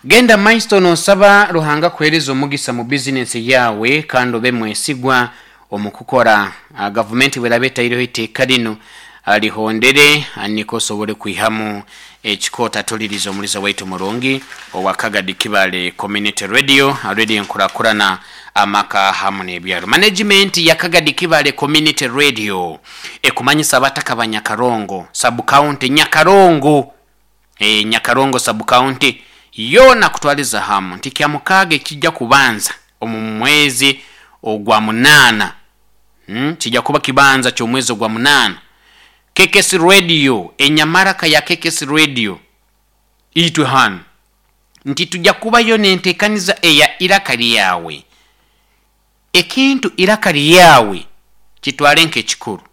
Genda maiso noosaba Ruhanga akuheereze omugisa mu bizinensi yaawe kandi obe mwesigwa omu kukora. Gavumenti bw'eraba etaireho eiteeka linu, lihondere nikwo osobole kwihamu ekikoota. Tulirize omuliza waitu murungi owa Kagadi Kibale Community Radio, Radio Enkurakurana, Amaka hamu n'Ebyaro. Manegimenti ya Kagadi Kibale Community Radio ekumanyisa abataka ba Nyakarongo Sub-County, Nyakarongo, Ee, Nyakarongo Sub-County yoona kutwariza hamu nti Kyamukaaga ekija kubanza omu mwezi ogwa munaana, kija kuba kibanza ky'omwezi ogwa munaana, KKS Radio, enyamaraka ya KKS Radio itwe hanu nti tuja kubayo n'enteekaniza eya Iraka Ryawe. Ekintu Iraka Ryawe kitware nk'ekikuru.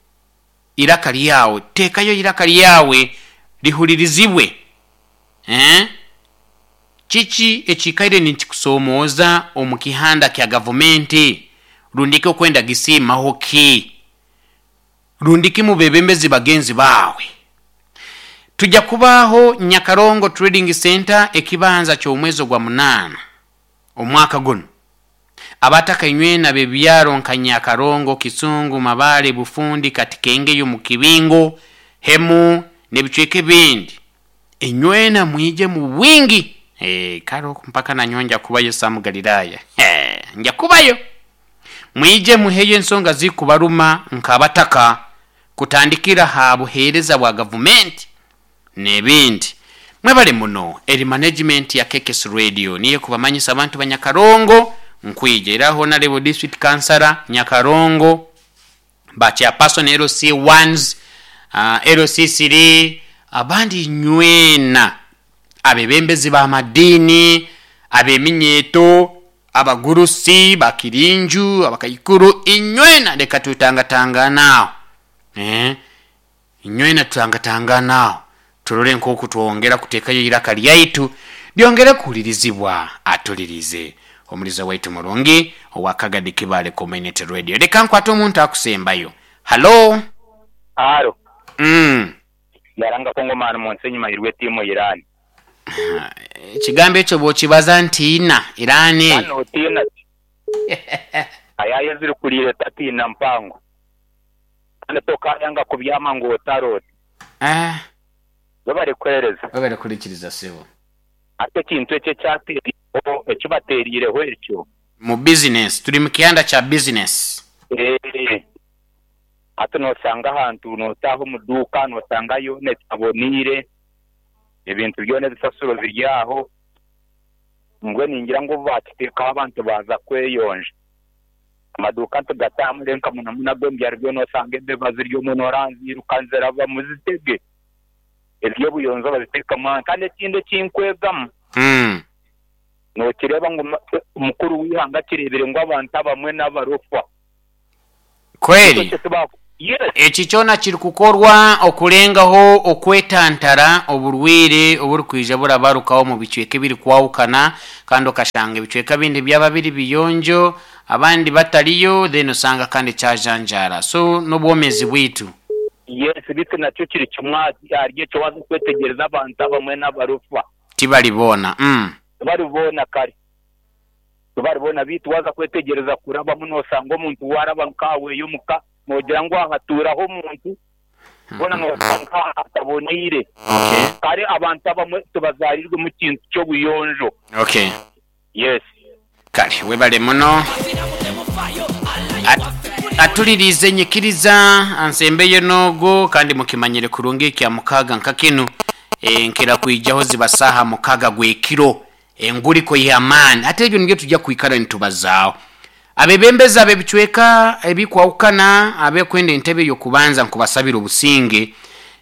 Iraka ryawe, teekayo eiraka ryawe rihuririzibwe. Eeh. Kiki ekiikaire nikikusomooza omu kihanda kya gavumenti? Rundiki okwenda gisiimaho ki? Rundiki mu beebembezi bagenzi baawe? Tuja kubaaho Nyakarongo Trading Centre ekibanza ky'omwezi ogwa munaana omwaka gunu. Abataka inywena ab'ebyaro nka Nyakarongo, Kisungu, Mabale, Bufundi, Katikengeyo, Mukibingo, Hemu n'ebicweka ebindi, inywena mwije mu bwingi. Eeh, kare oku mpaka nanyowe nja kubayo Sam Galilaya. Hee, nja kubayo. Mwije muheyo ensonga zikubaruma nk'abataka kutandikira ha buheereza bwa gavumenti n'ebindi. Mwebale muno eri management ya KKS Radio niyo ekubamanyisa abantu ba Nyakarongo nkwija era Honarebo District Kansara Nyakarongo ba Chairperson LC ones, LC siri abandi inywena abebembezi ba madiini, abeminyeeto, abagurusi, bakirinju, abakaikuru inywena leka twetangatangane aho eeh. Inywena tutangatangane aho turole nk'oku twongera kuteekayo eiraka lyaitu lyongere kuhulirizibwa. Atulirize omuliza waitu murungi owa Kagadi Kibaale Community Radio. Leka nkwate omuntu akusembayo. Hallo? Halo. Mm. Yaranga Kongomani mu nsi enyuma yirwe tiimu Iran. Ekigambo ekyo bw'okibaza ntiina Iran Kandi eyo. notiina ki? Ayaaya ezirikuriire tatiina mpango. Kandi tokayanga kubyama ngu otaroota. Webare kuheereza. Webare kuhurikiriza sebo. Hati ekintu ekyo ekyateeriireho, eki bateeriireho ekyo. Mu bizinesi, turi mu kihanda kya bizinesi. Eeh. Hati noshanga ahantu nootaaha omu duuka noshanga yoona etaboneire, ebintu byona ebisasiro biri aho. Mbwenu ningira ngu obu baakiteekaho abantu baaza kweyonja. Amaduuka ntigatambure nka munamuno ag'omu byaro byona osanga embeba ziri omwo nooranziiruka nizirabamu zitege. Eby'obuyonjo babiteekamu aha. Kandi ekindi eki nkwegamu, nookireeba ngu mukuru w'eihanga akireebire ngu abantu abamwe n'abarofa. Kweri, eki kyona kirikukorwa okurengaho okwetantara oburwaire oburikwija burabarukaho omu bicweka ebirikwahukana kandi okashanga ebicweka ebindi byaba biri biyonjo abandi batariyo then osanga kandi kyajanjaara so n'obwomezi bwaitu. Yes beitu nakyo kiri kimwe ahari ekyo waaza kwetegyereza abantu abamwe n'abarofa. Tibari boona. Tibari boona kare. Tibaribona, beitu waaza kwetegyereza kurabamu noshanga omuntu waaraba nkaawe omuka noogira ngu aha hatuuraho omuntu, hoona noshanga aha hataboneire. Kare abantu abamwe tibazaariirwe mu kintu ky'obuyonjo. Yes. Kare webale muno. Atuliriize nyikiriza ansembeyo n'ogwo kandi mukimanyire kurungi ekya mukaaga nka kinu nkira kwijaho ziba saaha mukaaga gw'ekiro. Enguriko y'amaani. Hati ebyo nibyo tugya kwikara nitubazaaho. Abebembezi ab'ebicweka ebikwahukana abekwenda entebe y'okubanza nkubasabira obusinge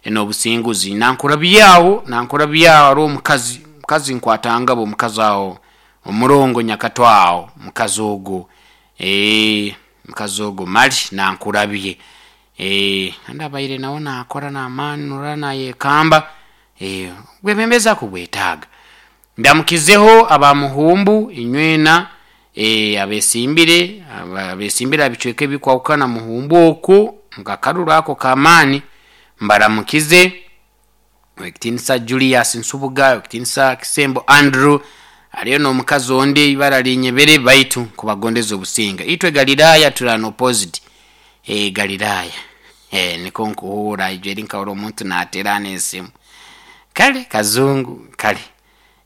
n'obusinguzi. Nankurabyaho, nankurabyaho haroho omukazi, omukazi nkwatangabo omukazi aho, omurongo nyakato aho, omukazi ogwo, eeh, omukazi ogwo mali nankurabye. Eeh, kandi abaire nawe nakora n'amaani norora nayekamba, eeh, obwebembezi akubwetaaga. Ndamukizeho aba Muhumbu inywena abesimbire abesimbire aha bicweka ebikwahukana Muhumbu oku nkakaruru ako k'amaani mbaramukize. Owekitinisa Julius Nsubuga, Owekitinisa Kisembo Andrew, Hariyo n'omukazi ondi ibara linyebere baitu nkubagondeza obusinga. Itwe Galilaya turi an opposite. Eh, Galilaya. Eh, niko nkuhuura ijo eri nkahurra omuntu naateerana esimu. Kale kazungu kale.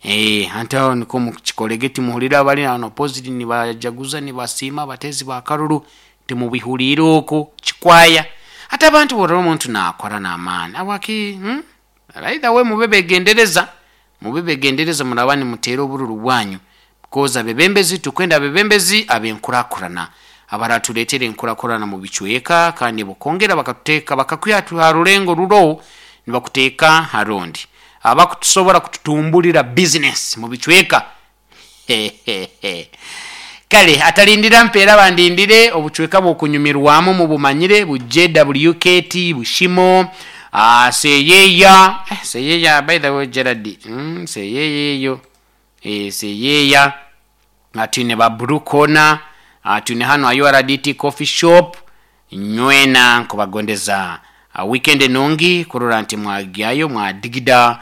Eh, anti aho niko mukikorege timuhurire abari an opposite nibajaguza nibasiima abateezi ba karuru timubihuriire okwo kikwaya. Hati abantu bworora omuntu naakora n'amaani habwaki hmm? Either way mube begendereza, mube begendereza muraba nimuteera obururu bwanyu because abebembezi tukwenda abebembezi abenkurakurana abaratureetera enkurakurana mu bicweka kandi bokongera bakatuteeka bakakwiha ha rurengo ruroho nibakuteeka ha rundi abakutusobora kututumburira business mu bicweka. Kale atalindira mpeera bandindire obucweka bw'okunyumirwamu mubumanyire bu JWKT, Bushimo, ah, Seyeya, eh, Seyeya by the way Gerald, Seyeya eyo, eh, Seyeya, ah, twine ba Blue Corner, ah, twine hanu ha URDT Coffee Shop, nywena nkubagondeza ah, weekend enungi kurora nti mwagyayo mwadigida.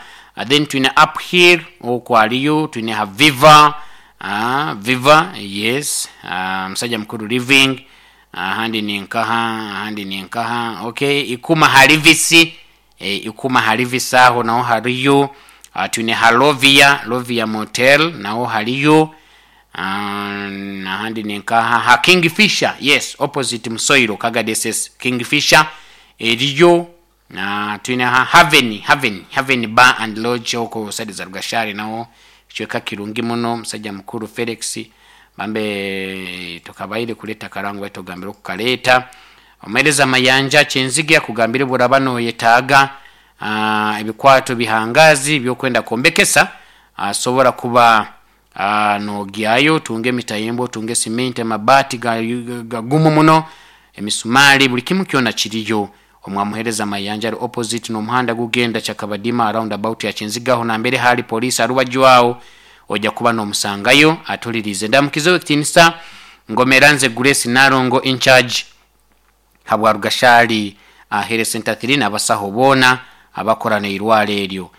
Then twine Uphill okwo hariyo, twine ha Viva, ah, Viva yes, ah, musajja mukuru Living, ahandi ni nkaha, ahandi ni nkaha, okay, Ikuma Harivisi, eh, Ikuma Harivisi aho naho hariyo. Ah, twine ha Lovia, Lovia Motel naho hariyo. Ah, ahandi ni nkaha ha Kingfisher, yes, opposite Musoiro Kagadi SS, Kingfisher eriyo. Na twine ha Haven, Haven, Haven Bar and Lodge oko side za Rugashari naho kicweka kirungi muno musajja mukuru Felix bambe tukabaire kuleta karango baitu ogambire okukaleta omuhereza Mayanja Kyenzige akugambire bworaba noyetaaga ah, ebikwato bihangazi byokwenda kwombekesa asobora kuba ah, nogyayo otunge emitayimbwa otunge cement amabaati gagumu muno emisumari buli kimu kyona kiriyo. Omwamuhereza Mayanja ari opposite n'omuhanda gugenda Kyakabadima round about ya Kyenzige aho nambere hali police arubaju aho oja kuba nomusangayo atulirize. Ndamukize ow'ekitinisa Ngomera nze Grace Nalongo in charge habwa Rugashari Health Center 3 n'abasaho boona abakora n'eirwaro eryo.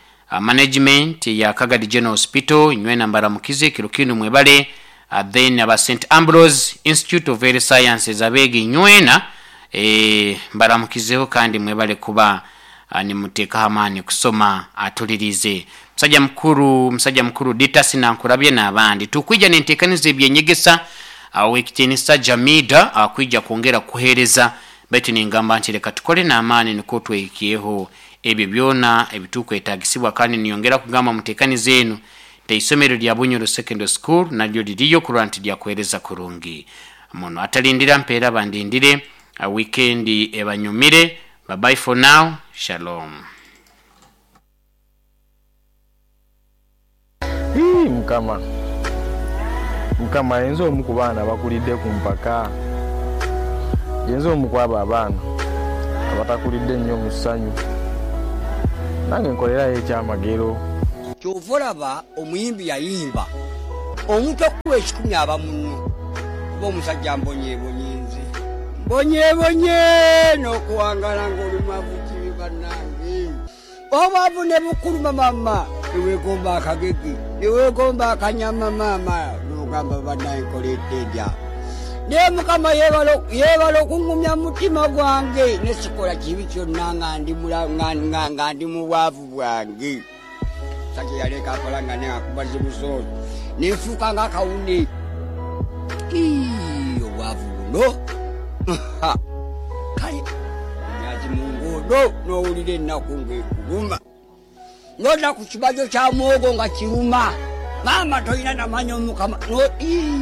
Management ya Kagadi General Hospital nywena mbaramukize kiro kinu mwebale. Then aba St Ambrose Institute of Health Sciences abeegi nywena mbaramukizeho kandi mwebale kuba nimuteekaho amaani kusoma atulirize. Musajja mukuru, musajja mukuru Ditas Nankurabye n'abandi. Tukwija n'enteekaniza eby'enyegesa Ow'ekitiinisa Jamida kwija kwongera kukuheereza baitu ningamba nti leka tukole n'amaani nukwo twehikyeho ebyo byona ebitukwetaagisibwa kandi ninyongera kugamba muteekaniza enu nti eisomero lya Bunyoro Secondary School naryo liriyo kurora nti lyakuheereza kurungi muno. Atalindira mpeera bandindire, wiikendi ebanyumire. Bye bye for now, Shalom. Ii Mukama, Mukama, yenze omu ku baana abakulidde ku mpaka. Yenze omu ku abo abaana abatakulidde nnyo mu ssanyu. Nange nkolerayo ekyamagero. Kyova olaba omuyimbi yayimba omuntu okukuwa ekikumi aba munno kuba omusajja mbonyebonye nze mbonyebonye n'okuwangala ng'oli mwavu kibi bannange obwavu ne bukuluma mama newegomba akagege newegomba akanyama maama nogamba bannange nkoledde ndya naye mukama yebala okungumya mutima gwange nesikola kibi kyonna nga ndi mu bwavu bwange. Musajja yaleka akola nga neakuba zibusooli nenfuuka nga akawune. Ii, obwavu buno kale nyazi mu nguudo n'owulira ennaku ng'ekuluma nodda ku kibajo kya muwogo nga kiruma maama tolina namanya omukama no ii.